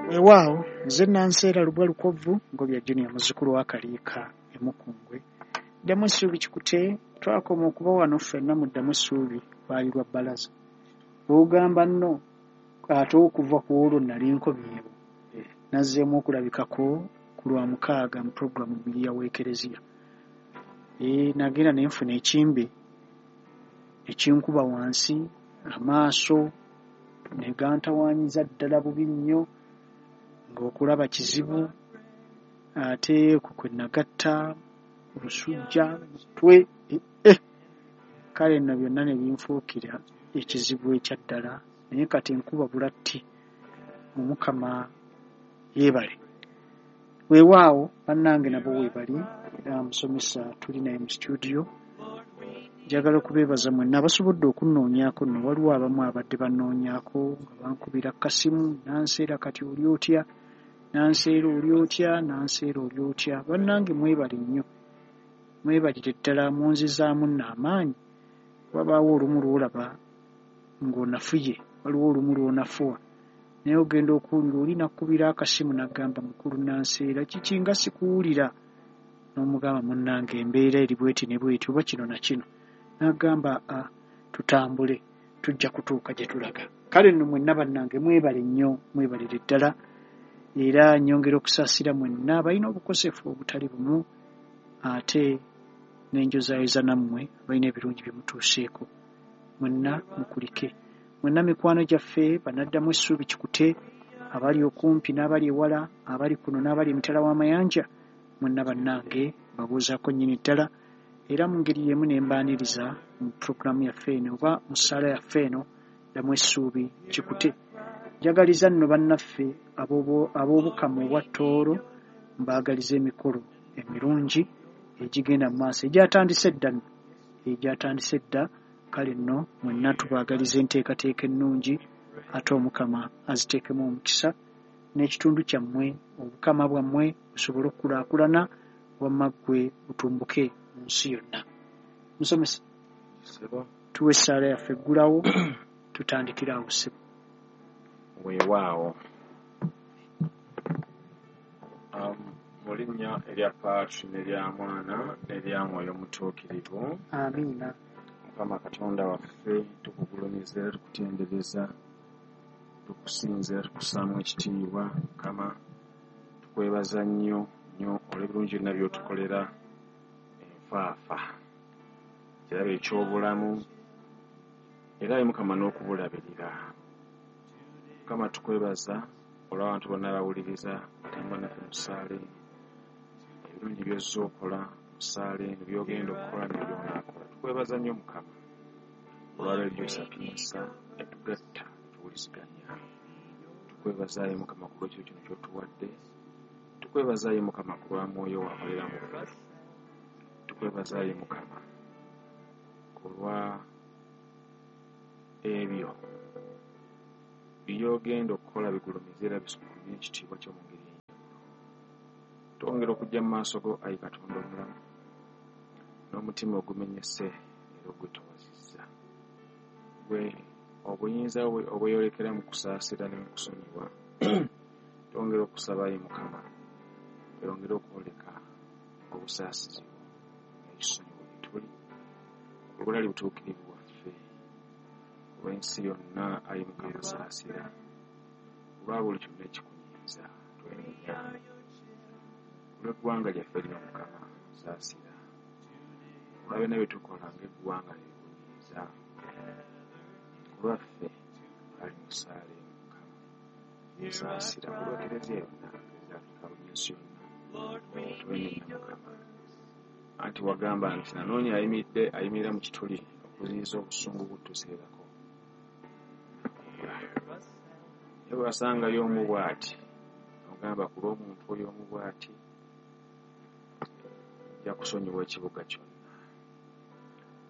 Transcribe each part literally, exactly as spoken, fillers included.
Weewaawo nze Nanseera Lubwa Lukovvu Ngobya Junior, muzzukulu wa Kaliika e Mukungwe. Ddamu Essuubi Kikute, twakoma okuba wano ffenna mu Ddamu Essuubi lwali lwa bbalaza. Bw'ogamba nno ate okuva ku olwo nali nkomyewo. Nazzeemu okulabikako ku lwa mukaaga mu pulogulaamu Omuyiiya w'Ekereziya. Ee, nagenda ne nfuna ekimbe ekinkuba wansi, amaaso ne gantawaanyiza ddala bubi nnyo, ng'okulaba kizibu, ate okwo kwe nagatta omusujja, mutwe, eh, kale nno byonna ne binfuukira ekizibu ekya ddala, naye kati nkuba bulatti, Omukama yeebale. Weewaawo bannange nabo weebali, era musomesa tuli naye mu studio. Njagala okubeebaza mwenna abasobodde okunnoonyaako nno, waliwo abamu abadde bannoonyaako nga bankubira kasimu, Nanseera kati oli otya, Nanseera oli otya, Nanseera oli otya. Bannange mwebale nnyo, mwebalire ddala, munzizaamu nno amaanyi. Wabaawo olumu lw'olaba ng'onafuye, waliwo olumu lw'onafuwa, naye ogenda okuwulira oli n'akkubira akasimu n'agamba mukulu Nanseera kiki nga sikuwulira, n'omugamba munnange embeera eri bw'eti ne bw'eti oba kino na kino, n'agamba a tutambule tujja kutuuka gye tulaga. Kale nno mwenna bannange mwebale nnyo, mwebalire ddala, era nnyongera okusaasira mwenna abalina obukosefu obutali bumu, ate n'enjozaayoza nammwe abalina ebirungi bye mutuuseeko. Mwenna mukulike. Mwenna mikwano gyaffe bannaddamu Essuubi Kikute, abali okumpi n'abali ewala, abali kuno n'abali emitala w'amayanja, mwenna bannange mbabuuzaako nnyini ddala, era mu ngeri y'emu ne mbaaniriza mu pulogulaamu yaffe eno oba mu ssaala yaffe eno Ddamu Essuubi Kikute. Njagaliza nno bannaffe ab'Obukama obwa Tooro, mbaagaliza emikolo emirungi egigenda mu maaso, egyatandise dda nno, egyatandise dda. Kale nno mwenna tubaagaliza enteekateeka ennungi, ate Omukama aziteekemu omukisa, n'ekitundu kyammwe, obukama bwammwe busobole okukulaakulana, wamma ggwe butumbuke mu nsi yonna. Musomesa, tuwe essaala yaffe eggulawo, tutandikire awo ssebo. Weewaawo. Mu linnya erya Patri n'erya Mwana n'erya Mwoyo Mutuukirivu. Amiina. Mukama Katonda waffe, tukugulumiza era tukutendereza, tukusinza era tukussaamu ekitiibwa. Mukama, tukwebaza nnyo nnyo olw'ebirungi byonna by'otukolera enfaafa, ekirabo eky'obulamu, era ayi Mukama n'okubulabirira. Mukama, tukwebaza olw'abantu bonna abawuliriza batambula naffe mu ssaala eno, ebirungi by'ozze okola mu ssaala eno, by'ogenda okukola ne by'onaakola. Tukwebaza nnyo Mukama olwa Radio Sapienza etugatta tuwuliziganya. Tukwebaza ayi Mukama ku lw'ekiro kino ky'otuwadde. Tukwebaza ayi Mukama ku lwa Mwoyo wakolera mu ffe. Tukwebaza ayi Mukama ku lwa ebyo by'ogenda okukola bigulumize era bisukkulumye ekitiibwa kyo mu ngeri ey'enjawulo. Twongera okujja mu maaso go ayi Katonda omulamu n'omutima ogumenyese era ogwetowazizza. Gwe obuyinza bwe obweyolekera mu kusaasira ne mu kusonyiwa, twongera okusaba ayi Mukama oyongere okwoleka obusaasizi bwo n'ekisonyiwo gye tuli, olw'obutali butuukirivu bwaffe, olw'ensi yonna ayi Mukama saasira, olwa buli kyonna ekikunyiiza twenenya, olw'eggwanga lyaffe lino Mukama saasira, olwa byonna bye tukola ng'eggwanga ebikunyiiza, olwaffe ali mu ssaala eno Mukama saasira, olwa Kereziya yonna, Kereziya Afrika n'ensi yonna twenenya Mukama. Anti wagamba nti nanoonya ayimiridde ayimirira mu kituli okuziyiza obusungu butuseerako. Naye bwe wasangayo omu bw'ati, n'ogamba ku lw'omuntu oyo omu bw'ati, nja kusonyiwa ekibuga kyonna.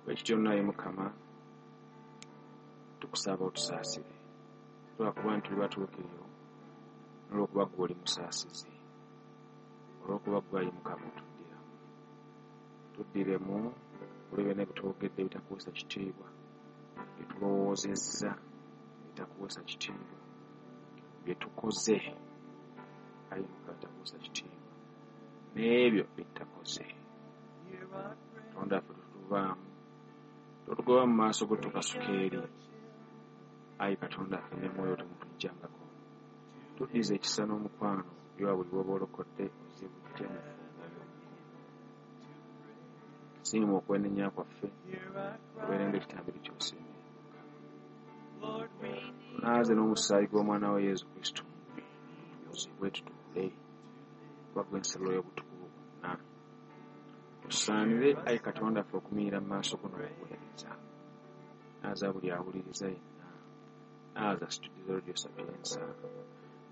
Bwe kityo nno ayi Mukama, tukusaba otusaasire. Lwakuba nti tuli batuukirivu, n'olwokuba ggwe oli musaasizi, olw'okuba ggwe ayi Mukama otuddiramu. Tuddiremu olw'ebyonna bye twogedde ebitakuweesa kitiibwa, bye tulowoozezza ebitakuweesa kitiibwa, bye tukoze Ayi Mukama takuusa kitiibwa n'ebyo byettakoze. Katonda ffe tutuvaamu, totugoba mu maaso go tukasuka eri. Ayi Katonda ffe ne mwoyo temutujjangako. Tuddize ekisa n'omukwano byowa buli bw'oba olokodde ozibujje mu ffumu. Siima okwenenya kwaffe obeere ng'ekitambiro ky'osiimye. Tunaaze n'omusaayi gw'omwana wa Yesu Kristo tutukuzibwe tutukule kuba gwe ensalo y'obutukuvu bwonna. Tusaanire ayi Katonda ffe okumiira mu maaso go n'okuweereza. Naaza buli awuliriza yenna. Naaza situdizo Radio Sapienza.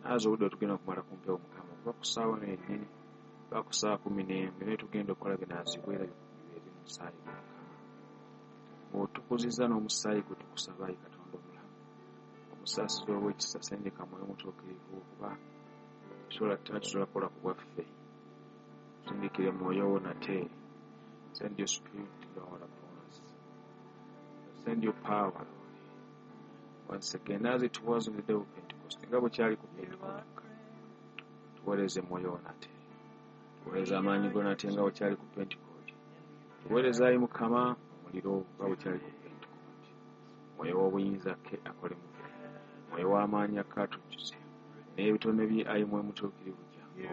Naaza obudde tugenda okumala ku mpewo Mukama okuva ku ssaawa eno yennyini paka ku ssaawa kumi n'emu naye tugenda okukola binaazibwa era bibeere mu musaayi gwa Mukama. Ng'otukuzizza n'omusaayi gwe tukusaba ayi Katonda omulamu. Omusaasizi ow'ekisa sendeka Mwoyo Mutuukirivu okuba tusobola tusobola kukola ku bwaffe. Sindikire Mwoyo wo nate. Send your spirit, Lord, upon us. Send your power, Lord. Once again, as it was on the day of Pentecost, nga bwe kyali ku Pentecost, tuweereze Mwoyo wo nate. Tuweereze amaanyi go nate nga bwe kyali ku Pentecost. Tuweereze ayi Mukama omuliro nga bwe kyali ku Pentecost. Mwoyo w'obuyinza ke akole mu ffe. Mwoyo w'amaanyi ake atujjuze. N'ebitone bye ayi Mwoyo Mutuukirivu jangu.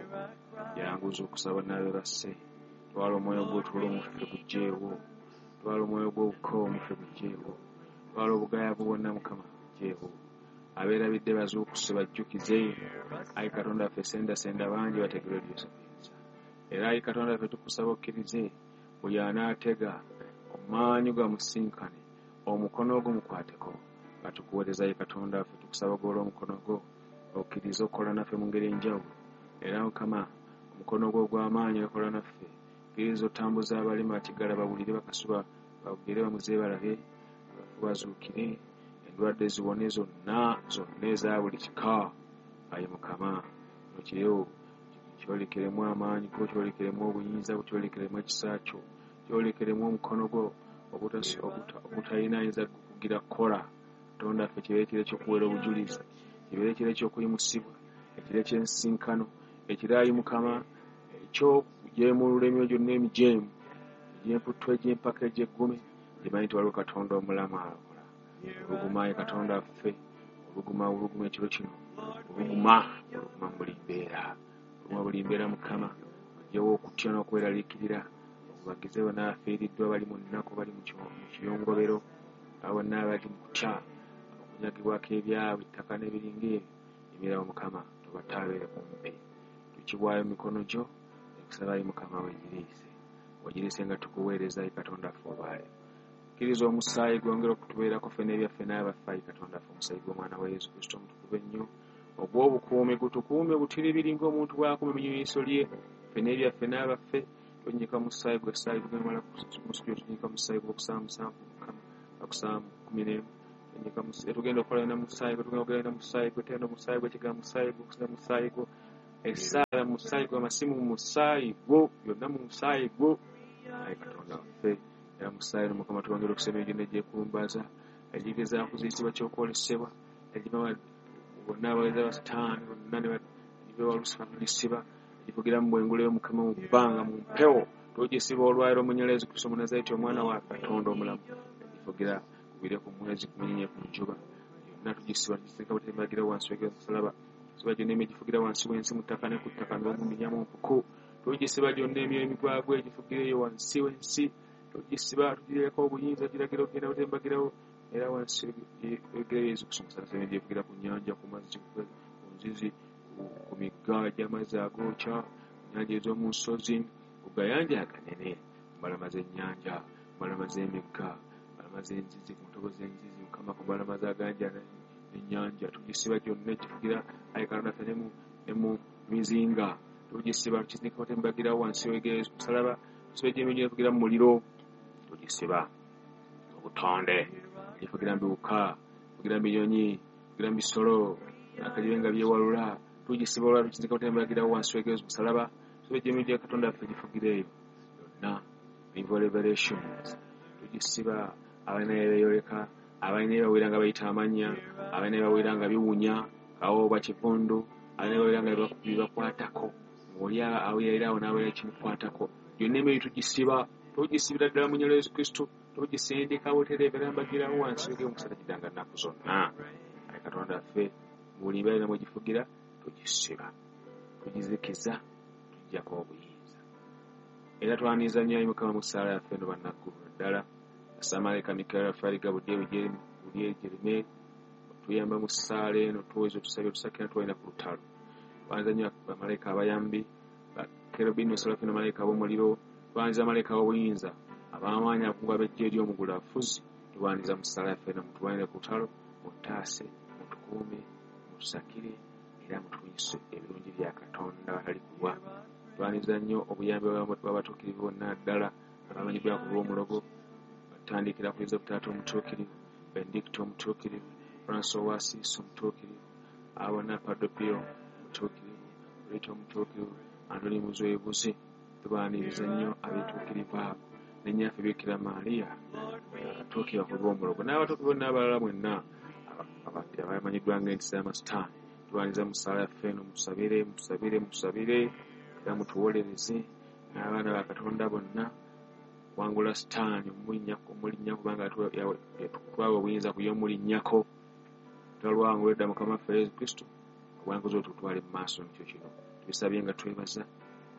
Yanguza okusaba n'abeebase. Twala omwoyo gw'otulo mu ffe guggyeewo. Twala omwoyo gw'obukoowu mu ffe guggyeewo. Twala obugayaavu bwonna Mukama buggyeewo. Abeerabidde bazuukuse bajjukize. Ayi Katonda ffe sendasenda bangi bategere Radio Sapienza. Era ayi Katonda ffe tukusaba okkirize buli anaatega omaanyi gamusinkane omukono gwo mukwateko. Nga tukuweereza ayi Katonda ffe tukusaba golola omukono gwo okkirize okukola naffe mu ngeri enjawulo. Era Mukama omukono gwo ogw'amaanyi okola naffe. Kkiriza otambuza abalema bakiggala bawulire bakasuba bagere bamuze balabe abafu bazuukire endwadde ziwone zonna zonna eza buli kika. Ayi Mukama kino kiro kyolekeremu amaanyi go, kyolekeremu obuyinza bwo, kyolekeremu ekisa kyo, kyolekeremu omukono gwo ogutalina ayinza kugira kukola. Katonda ffe kibeere ekiro eky'okuweera obujulizi, kibeere ekiro eky'okuyimusibwa, ekiro eky'ensinkano, ekiro ayi Mukama eky'okujeemulula emyoyo gyonna emijeemu, egy'emputtu, egy'empaka, egy'eggume, gimanyi nti waliwo Katonda omulamu akola. Oluguma ayi Katonda ffe, oluguma oluguma ekiro kino, oluguma oluguma mu buli mbeera, oluguma buli mbeera Mukama, oggyewo okutya n'okweraliikirira, obagize bonna abafiiriddwa bali mu nnaku, bali mu kiyongobero, abo bonna abali mu kutya okunyagibwako ebyabwe ettaka n'ebiringa ebyo, emirawo Mukama tobataabeere kumpi. Tukibwayo mu mikono gyo, ekusaba ayi Mukama weegiriise, weegiriise nga tukuweereza ayi Katonda ffe olwaleero. Kkiriza omusaayi gwongere okutubeerako ffe n'ebyaffe n'abaffe ayi Katonda ffe, omusaayi gw'omwana wa Yesu Kristo omutukuvu ennyo ogw'obukuumi gutukuume butiribiri ng'omuntu bw'akuuma eminyonyiso lye ffe n'ebyaffe n'abaffe. Tonnyika musaayi gwe essaayi tugenda mu studio, tonnyika musaayi gw'okusaba musanvu Mukama, okusaba kumi n'emu. Tonnyika musaayi tugenda okukola na musaayi gwe, tugenda okugenda musaayi gwe, tenda omusaayi gwe, ekigambo musaayi gwe, okusaba musaayi gwo, essaala musaayi gwo, amasimu musaayi gwo, byonna mu musaayi gwo. Ayi Katonda waffe, era musaayi no Mukama twongere okusaba emyoyo egyekulumbaza egigezaako kuziyizibwa ky'okwolesebwa egiva bonna abaweereza ba Sitaani bonna ne giva Lusifa tulisiba givugira mu bwengula Mukama mu bbanga mu mpewo tugisiba olwaliro mu nnyala Yesu Kristo Omunazareti omwana wa Katonda omulamu. Givugira kubire ku mwezi ku munyenye ku njuba yonna tugisiba tugiseka butembagira wansi w'omusalaba. Tusiba gyonna emyoyo egifugira wansi w'ensi mu ttaka ne ku ttaka n'omu mu mpuku. Tugisiba gyonna emyoyo emigwagwa egifugira eyo wansi w'ensi. Tugisiba tugireko obuyinza giragira okugenda butembagirawo era wansi w'ebigere Yesu Kristo Omunazareti gyevugira ku nnyanja ku mazzi ku nzizi ku migga gy'amazzi agookya nnyanja ez'omu nsozi ku gayanja aganene ku mbalama z'ennyanja ku mbalama z'emigga ku mbalama z'enzizi ku ntobo z'enzizi Mukama ku mbalama z'aganja n'ennyanja tugisiba gyonna egifugira ayi Katonda ffe ne mu mizinga tugisiba tukisindika butembagirawo wansi w'ebigere Yesu musalaba. Tusiba gy'emyoyo gyevugira mu muliro tugisiba obutonde gifugira mu biwuka gifugira mu binyonyi gifugira mu bisolo akagibe nga byewalula tugisiba olwa tukisindika butembagirawo wansi w'ebigere Yesu musalaba. Tusiba gy'emyoyo gya Katonda ffe gifugira eyo yonna evil revelations tugisiba abalina beeyoleka abalina bawera nga bayita amannya abalina bawera nga biwunya kawo oba kivundu Ababeera nga bibakwatako, ng'oli aweerera awo n'abeera ekimukwatako. Yonna emyoyo tugisiba, tugisibira ddala mu nnyalo Yesu Kristo, tugisindika butereevu era mbagirawo wansi w'omukisa tagidanga nnaku zonna. Ayi Katonda waffe, buli mbeera yonna mwegifugira tugisiba, tugizikiza, tuggyako obuyinza. Era twaniriza nnyo ayi Mukama mu ssaala yaffe eno bannaggulu ddala. Samalayika Mikaeli Rafaeli Gabudyeri Jerimeri otuyamba mu ssaala eno, tuweze otusabye otusakira tuwalina ku lutalo. Twaniriza nnyo bamalayika abayambi, bakerubini, serafini, bamalayika ab'omuliro, twaniriza bamalayika ab'obuyinza, ab'amaanyi abakungu ab'eggye ery'omugulu abafuzi. Twaniriza mu ssaala yaffe eno, mutuwanire ku lutalo, mutaase, mutukuume, mutusakire era mutuwunyise ebirungi bya Katonda abatali kulwa. Twaniriza nnyo obuyambi bw'abatuukirivu bonna ddala abamanyiddwa ku lw'omulogo, batandikira ku Yozefu Taata Omutuukirivu, Benedicto Omutuukirivu, Francis Ow'Assisi Omutuukirivu, abo bonna Padre Pio Omutuukirivu, Rita Omutuukirivu, Antoni Muzoebuzi. Tubaaniriza nnyo abeetuukirivu abo ne nnyaffe Bikira Maria abatuukirivu ku lw'omulogo n'abatuukirivu bonna abalala mwenna abamanyiddwa ng'entiisa y'amasitaani. Tubaaniriza mu ssaala yaffe eno, mutusabire, mutusabire, mutusabire era mutuwolereze n'abaana ba Katonda bonna wangula sitaani omulinnyako, omulinnyako kubanga twawa obuyinza ku ye omulinnyako. Twalwangula edda Mukama waffe Yesu Kristo, obuwanguzi obwo tutwale mu maaso nikyo kino. Tubisabye nga twebaza,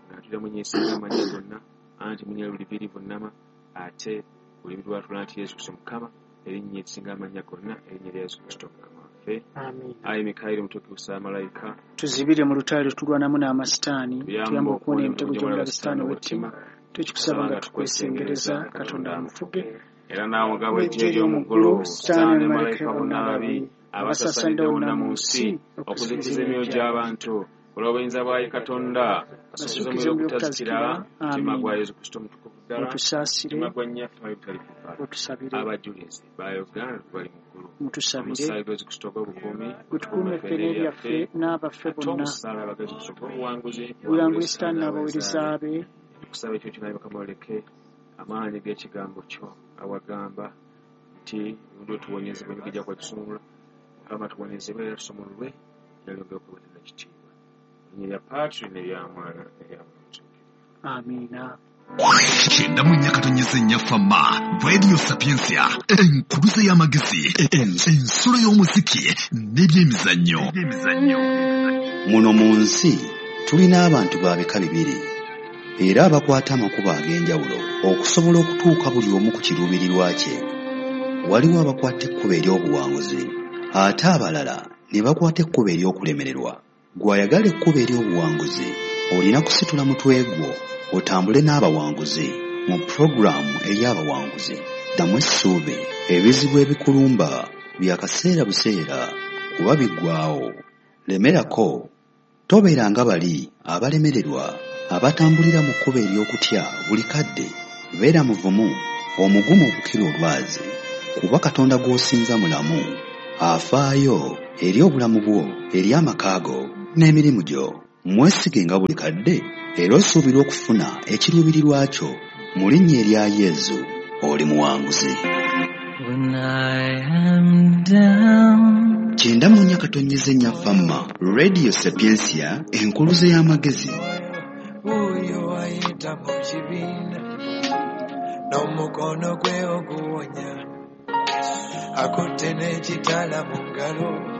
nga tulira munyesinga amannya gonna, anti munye buli biri vunnama, ate buli bitwatula nti Yesu Kristo Mukama, erinnya erisinga amannya gonna, erinnya lya Yesu Kristo Mukama waffe. Amiina. Ayi Mikaeli Mutuukirivu Ssaamalayika, tuzibire mu lutalo tulwanamu n'amasitaani, tuyambe tuyambe okuwona okuwona emitego emitego gy'omulabe gy'omulabe sitaani sitaani ow'ettima. ow'ettima. Tukikusaba nga tukwesengereza, Katonda amufuge Era naawe nga bw'eggye bw'eggye ery'omu ery'omu ggulu, ggulu, sitaani sitaani ne ne malayika malayika bonna bonna ababi ababi abasasanidde abasasanidde wonna wonna mu mu nsi nsi okuzikiza okuzikiza emyoyo emyoyo gy'abantu olw'obuyinza bwa ye Katonda, asuukize basuukize omuliro omuliro ogutazikira, ogutazikira. mutima gwa Amiina. Yesu Kristo omutukuvu ddala, Otusaasire, mutima gwa nnyaffe Maria Mutalifu, otusabire, abajulizi ba Uganda bali mu ggulu. Mutusabire, Omusaayi gwa Yesu Kristo ogw'obukuumi gutukuume gutukuume ffe ffe n'ebyaffe n'ebyaffe, n'abaffe ate bonna. omusaalaba gwa Yesu Kristo ogw'obuwanguzi Buyangule buwangule sitaani sitaani n'abaweereza n'abaweereza be. be. Tukusaba ekyo kinaye Mukama oleke amaanyi g'ekigambo kyo awagamba nti emirundi otuwonyezebwa emigigi gya kwatusumulula. Mukama tuwonyezebwe era tusumululwe era lyongere okuweereza ekitiibwa. Erinnya lya Patri n'erya Mwana n'erya Mwoyo Mutuukirivu. Amiina. Kyenda mu nnya katonyeze nnya Fama Radio Sapientia, enkuluze y'amagezi, ensulo y'omuziki n'ebyemizannyo. Muno mu nsi tulina abantu ba bika bibiri era abakwata amakubo ag'enjawulo okusobola okutuuka buli omu ku kiruubirirwa kye. Waliwo abakwata ekkubo ery'obuwanguzi ate abalala ne bakwata ekkubo ery'okulemererwa. Gw'ayagala ekkubo ery'obuwanguzi olina kusitula mutwe gwo otambule n'abawanguzi mu pulogulaamu ey'abawanguzi. Ddamu essuubi, ebizibu ebikulumba bya kaseera buseera kuba biggwaawo. Lemerako, tobeera nga bali abalemererwa abatambulira mu kkubo ery'okutya buli kadde. Beera muvumu, omugumu okukira olwazi, kuba Katonda gw'osinza mulamu, afaayo eri obulamu bwo, eri amaka go n'emirimu gyo. Mwesigenga buli kadde era osuubirwa okufuna ekiruubirirwa kyo. Mu linnya erya Yesu, oli muwanguzi. When I am down, Kyenda mu nnya katonyeze nnya Fama Radio Sapientia, enkuluze y'amagezi. Wuuyo ayita mu kibiina n'omukono gwe oguwonya, akutte n'ekitala mu ngalo.